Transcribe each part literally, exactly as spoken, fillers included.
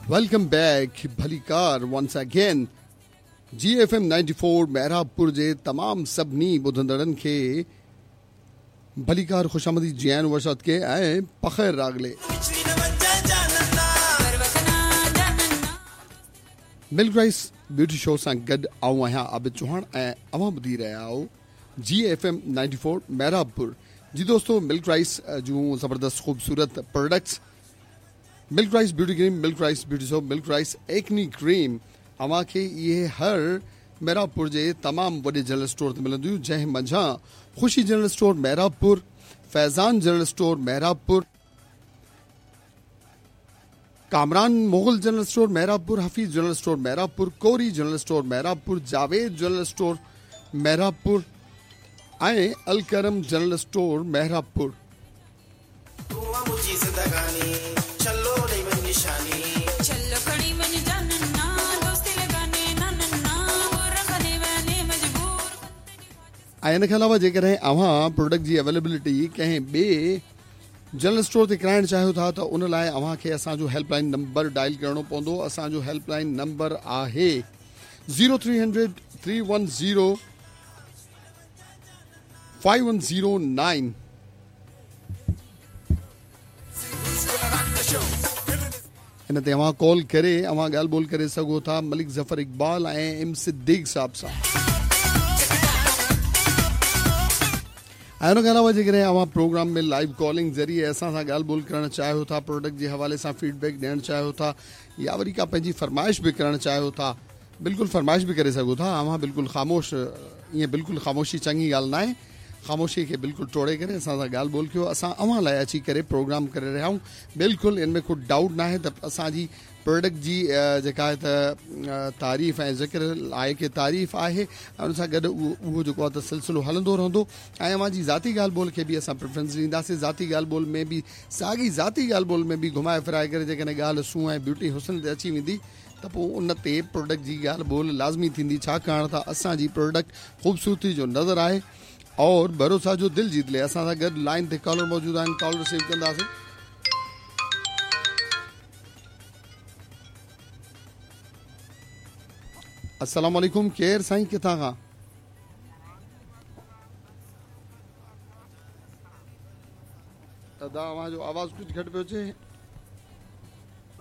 Welcome back भलीकार once again G F M ninety four Mehrabpur जे तमाम सभिनी ॿुधंदड़नि खे भलीकार ख़ुशामदी जी आहिनि वसात खे ऐं पख़ैर रागले। मिल्क राइस ब्यूटी शो सां गॾु आउं आहियां आबिद चौहान ऐं अव्हां ॿुधी रहिया आहियो G F M ninety four Mehrabpur. जी दोस्तों, मिल्क राइस जूं ज़बरदस्त ख़ूबसूरत products milk rice beauty cream, milk rice beauty soap, milk rice acne cream अव्हांखे इहे हर मेहराबपुर जे तमामु वॾे जनरल स्टोर ते मिलंदियूं, जंहिं मंझां Khushi general store Mehrabpur, Faizan general store Mehrabpur, Kamran Mughal general store Mehrabpur, Hafeez general store Mehrabpur, Kori general store Mehrabpur, Javed general store Mehrabpur ऐं अलकरम जनरल स्टोर मेहराबपुर। ऐं इन खां अलावा जेकॾहिं अव्हां प्रोडक्ट जी अवेलेबिलिटी कंहिं ॿिए जनरल स्टोर ते कराइणु चाहियो था त उन लाइ अव्हांखे असांजो हेल्पलाइन नंबर डायल करिणो पवंदो। असांजो हेल्पलाइन नंबर आहे zero three hundred three one zero five one zero nine. इन ते अव्हां कॉल करे अव्हां ॻाल्हि ॿोल करे सघो था मलिक ज़फ़र इक़बाल ऐं एम सिद्दीक़ साहब सां। ऐं उन खां अलावा जेकॾहिं अव्हां प्रोग्राम में लाइव कॉलिंग ज़रिए असां सां ॻाल्हि ॿोल करणु चाहियो था, प्रोडक्ट जे हवाले सां फीडबैक ॾियणु चाहियो था या वरी का पंहिंजी फरमाइश बि करणु चाहियो था, बिल्कुलु फरमाइश बि करे सघो था। अव्हां बिल्कुलु ख़ामोश, ईअं बिल्कुलु ख़ामोशी चङी ॻाल्हि न आहे, ख़ामोशी खे बिल्कुलु टोड़े करे असां सां ॻाल्हि ॿोल कयो। असां अव्हां लाइ अची करे प्रोग्राम करे रहिया आहियूं, बिल्कुलु इन में को डाउट न आहे त असांजी प्रोडक्ट जी जेका आहे त तारीफ़ ऐं ज़िक्र लाइक़ तारीफ़ आहे ऐं उन सां गॾु उहो उहो जेको आहे त सिलसिलो हलंदो रहंदो। ऐं अव्हांजी ज़ाती ॻाल्हि ॿोल खे बि असां प्रेफरेंस ॾींदासीं। ज़ाती ॻाल्हि ॿोल में बि साॻी ज़ाती ॻाल्हि ॿोल में बि घुमाए फिराए करे जेकॾहिं ॻाल्हि सूंहं ऐं ब्यूटी हुस्न ते अची वेंदी त पोइ उन ते प्रोडक्ट जी ॻाल्हि ॿोल लाज़मी थींदी, छाकाणि त असांजी प्रोडक्ट ख़ूबसूरती जो नज़र आहे और भरोसा जो दिल जीत ले। असां सां गॾु लाइन ते कॉलर मौजूदु आहिनि, कॉल रिसीव कंदासीं। अस्सलाम वालेकुम, केरु साईं, किथां खां? अदा अव्हांजो आवाज़ कुझु घटि पियो अचे।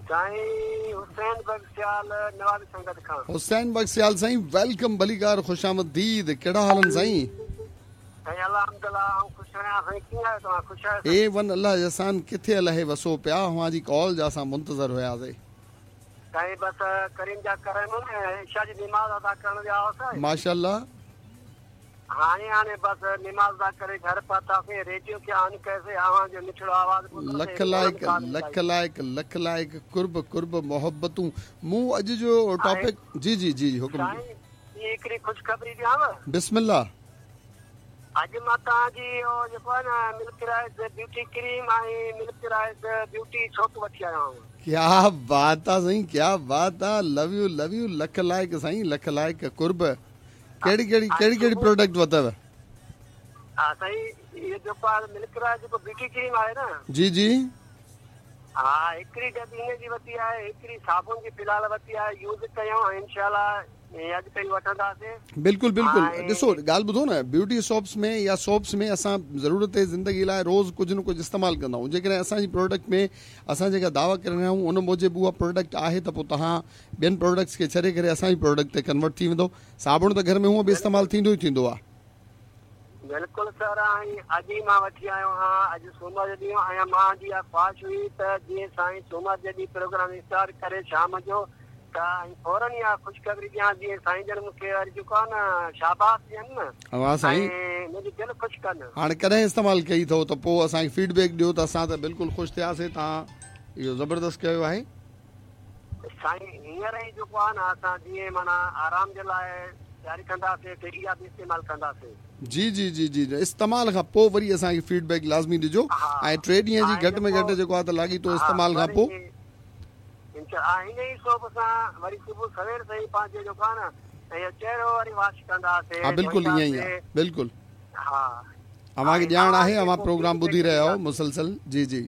साईं हुसैन बख्शियाल नवाबी संगत खां। हुसैन बख्शियाल साईं, welcome, भलीकार, ख़ुशामदीद। कहिड़ा हाल आहिनि साईं? साईं अल्हम्दुलिल्लाह, आउं ख़ुशि आहियां। साईं कीअं आहियो तव्हां? ख़ुशि आहियो? ए वन अल्लाह जे अहसान, किथे अलाए वसो पिया, अव्हांजी कॉल जा असां मुंतज़र हुयासीं। साईं बसि करीम जा करम ऐं इशा जी नमाज़ अदा करण विया हुआसीं। माशाअल्लाह। हाणे हाणे बसि नमाज़ अदा करे घर पहुतासीं, रेडियो खे ऑन कयोसीं, अव्हांजो मिठड़ो आवाज़ ॿुधोसीं। लख लाइक़, लख लाइक़, लख लाइक़, कुर्ब कुर्ब मोहब्बतूं। मूं अॼु जो टॉपिक जी जी जी हुकुम। साईं हिकिड़ी ख़ुशख़बरी ॾियांव? बिस्मिल्लाह। अॼु मां तव्हांजी इहो जेको आहे न मिल्क राइस ब्यूटी क्रीम ऐं मिल्क राइस ब्यूटी सोप वठी आयो आहियां। क्या बात आहे साईं, क्या बात आहे। Love you, love you, lakh लाइक़ साईं, लख लाइक़, कुर्ब। कहिड़ी कहिड़ी कहिड़ी कहिड़ी प्रोडक्ट वरितव? हा साईं, इहो जेको आहे मिल्क राइस जेको ब्यूटी क्रीम आहे न, जी जी, हा हिकिड़ी डबी हिन जी वरिती आहे, हिकिड़ी साबुन जी फ़िलहाल वरिती आहे, यूज़ कयूं इंशाअल्लाह अॻिते वठंदासीं। बिल्कुलु बिल्कुलु। ॾिसो ॻाल्हि ॿुधो न, ब्यूटी शॉप्स में या सोप्स में असां ज़रूरत ज़िंदगी लाइ रोज़ कुझु न कुझु इस्तेमालु कंदा आहियूं। जेकॾहिं असांजी प्रोडक्ट में असां जेका दावा करे रहिया आहियूं उन मूजिबि उहा प्रोडक्ट आहे त पोइ तव्हां ॿियनि प्रोडक्ट्स खे छॾे करे असांजी प्रोडक्ट ते कन्वर्ट थी वेंदो। साबुण त घर में हूअं बि इस्तेमालु थींदो ई थींदो आहे। बिल्कुलु सर, ऐं अॼु ई मां वठी आयो आहियां, अॼु सोमर जो ॾींहुं ऐं मुंहिंजी इहा ख़्वाहिश हुई त जीअं साईं सोमर जे ॾींहुं प्रोग्राम स्टार्ट करे शाम जो त फ़ौरन इहा ख़ुशख़बरी ॾियां, जीअं साईं जन मूंखे वरी जेको आहे न शाबाश ॾियनि न, हा साईं मुंहिंजी दिलि ख़ुशि कनि। हाणे कॾहिं इस्तेमालु कई अथव त पोइ असांखे फीडबैक ॾियो त असां त बिल्कुलु ख़ुशि थियासीं, तव्हां इहो ज़बरदस्त कयो आहे। साईं हींअर ई जेको आहे न असां जीअं माना आराम जे लाइ तयारी कंदासीं त इहा बि इस्तेमालु कंदासीं। जी जी जी जी, इस्तेमाल खां पोइ वरी असांखे फीडबैक लाज़मी ॾिजो ऐं टे ॾींहं जी घटि में घटि जेको आहे त लाॻीतो इस्तेमाल खां पोइ हिन ई सोप सां वरी सुबुह सवेर सां ई पंहिंजो जेको आहे न इहो चहिरो वरी वॉश कंदासीं। हा बिल्कुलु ईअं ई आहे, बिल्कुलु। हा अव्हांखे ॼाण आहे, अव्हां प्रोग्राम ॿुधी रहिया आहियो मुसलसल। जी जी।